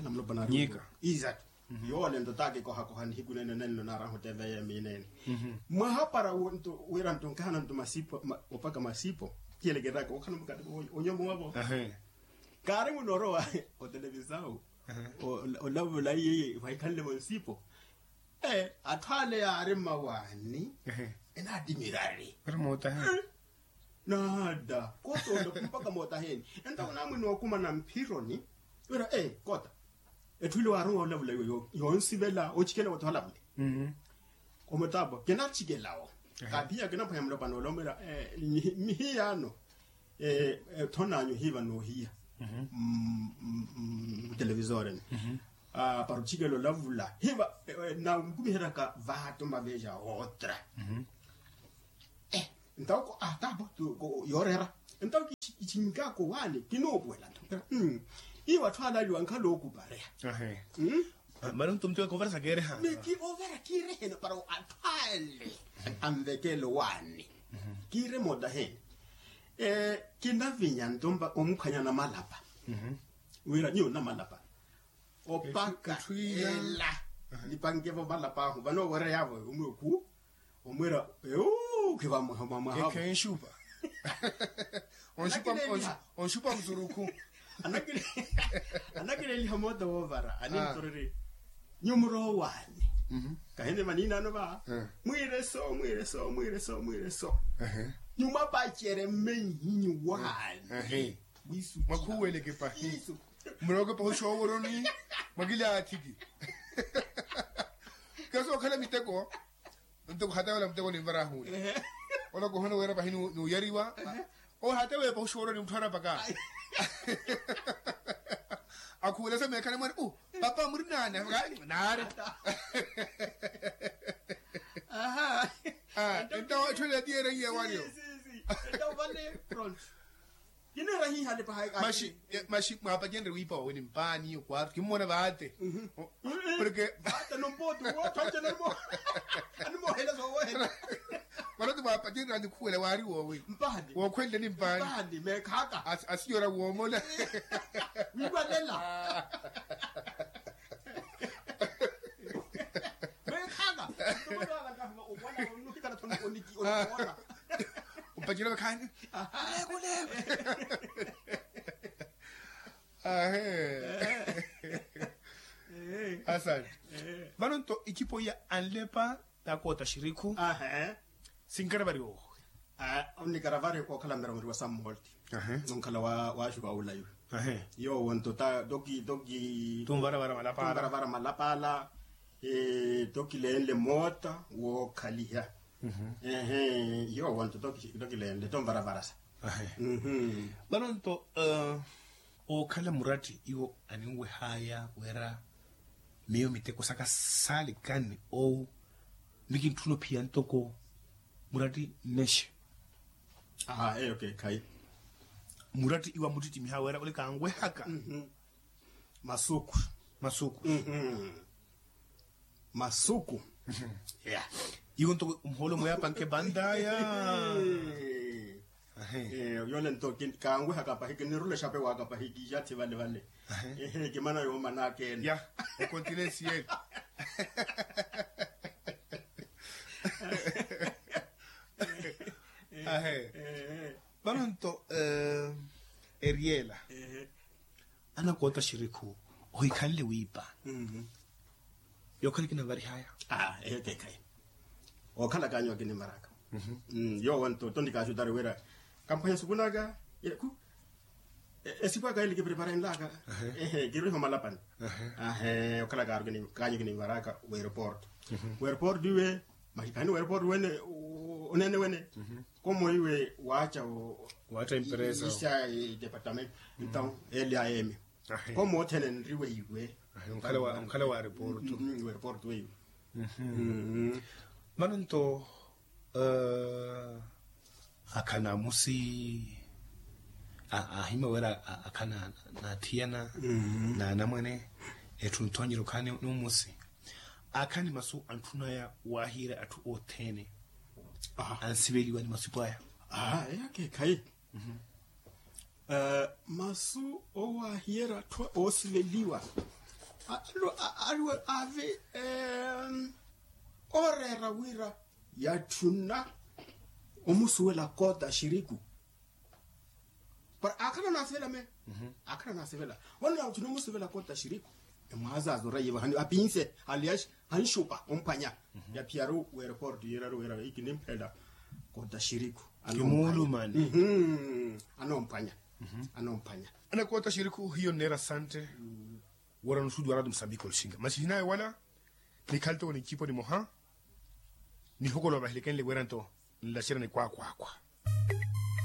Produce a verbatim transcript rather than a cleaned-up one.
okhala mulopwana ari nyika. Izatu. Yoole nto taakikohakoha nihiku nene nenlo naaraha oteveya emineene. Mwahapara wira nto nkahana nto masipo opaka masipo. Kiyelekeraka okhala mukati onyomo wavo. Kaari munorowa otelevisau olavula iye wahikhanle vonsipo. Atthu ale yaari mmawaani enaatimirari. Naada kotonda kumpaka mootaheni. Enta kunamwini okumana mphironi wira kota etthu ile waarowa olavula iwe yoonsivela ochikela woti olavule. Omutapo kinachikelawo. Kaphiya kinaphwanya mulopwana olomera. Mihiyaano Ethon'anyu hiiva noohiya mutelevisoreni para otthikela olavula hiiva, nankumiheryaka vaatto maveja otra. Entawo ko atapo yooreera entawo kichinkaka owaani kinoopuwela nto. Iwo atthu alaaliwa nkhala ookupareya. Mara nto muteko ovara sakeereha. Ovara kiireheni para atthu ale anvekele owaani. Kiire moota heeni kinavinya nto omuphwanya namalapa. Wira nyuwo namalapa opaka ela nipankevo malapa ahu vano owereryavo omwekhu omwira ewu khivamwaha mwamwahavo. Khenxupa onxupa musurukhu. Anakileliha moota woovara anintoreri nyumuro waani. Kahene manina ano va mwireso mwireso mwireso mwireso nyumapachere mmenhinyu waani. Mwakhuweleke pahi. Mulooke pahi oxooworoni mwakilaathiki. Kesi okhala miteko nteko hatewela muteko ninvarahuula. Ola kuhona wira pahi nuuyariwa ohatewepa oxooroni mutthu arapaka. Akhuwelesa meekhani mwene u papa muri naani? Naari. Entawo etthu ela tiyereiye wariyo. Kinera hihale paha. Maxi maxi mwaapacenrye wiipa wawe ni mpaani okwaathu kimmona vaate. Porque vaate nompooti wootthwanca animohela soowohela. Mwanoti mwaapacenrye anikhuwela waari woowi mpaani wookhwenle ni mpaani mpaani meekhaka. Asiyora woomona wiiwalela. Meekhaka. Opacela vakhaani kulekuleku. Ahe. Asante. Vano nto ikipo iya anlepa takoota xirikhu. Sinkaravari owe. Onikaravari kookhala mmeramuriwa sammoolti. Nonkhala waaxuka wula iwe. Yoowo nto ta toki toki tumvaravara malapala. Toki leenle moota wookhaliha. Ehe. Yoowo nto toki leenle tumvaravarasa. Vano nto ookhala muratti iwo aninwehaya wira miyo miteko saka saali kanni owu mikintthuna ophiya ntoko muratti nnexe. Aa eyo keekhayi. Muratti iwa muttittimiha wira ole kanwehaka masuku. Masuku. Masuku. Iwo ntoko muhoolo mweyapanke bantaya. Yole nto kanwehaka pahi kinirule xape waka pahi kiixathi vale vale. Kimana yoomana akeene ya okontinensi yeeli. Ahe. Vano nto eriyela anakoota xirikhu ohikhanle wiipa. Yookhala kinanvarihaya. Eyo keekhayi. Ookhala kaanyu akinimvaraka. Yoowo nto tonti kaaxutari wira kamphwanya sukunaka. Esiku aka eli kipreparenlaka. Ehe kiriho malapani. Ahe okhala kaanyu kinimvaraka wereporto. Wereporto iwe maxikani wereporto wene oneene wene. Komo iwe waaca. Waaca emperesa isa departamento. Entawo eli aemi komo othene nriwe iwe. Mukhala wa reporto weiwe. Vano nto akhana amusi ahima wira akhana n'athiyana n'anamwane etthu nthonyeryo khaani n'umusi. Akhani masu antthunaya waahiira atthu othene ansiveliwa ni masipu aya. Eyo akeekhayi. Masu owaahiyerya atthu oosiveliwa aliwe ave ooreera wira yatthuna omusuwela koota xiriku. Para akhala nasivela me akhala nasivela. Wano yatthuna omusivela koota xiriku emwaazaaza orayiva hani apinse hali hanxupa omphwanya. Yaphiyaru wereporto yiiraru wira ikinimphela koota xiriku. Kimuulumani. Anomphwanya. Anomphwanya. Anakoota xiriku hiyo nneera sante wira nusuudiwa ratu musambiki oluxinga masi hinaye wala. Nikhaltoko ni ncipo nimoha nihokolowa vahelekenle wira nto nlaxerya ni kwaakwakwa.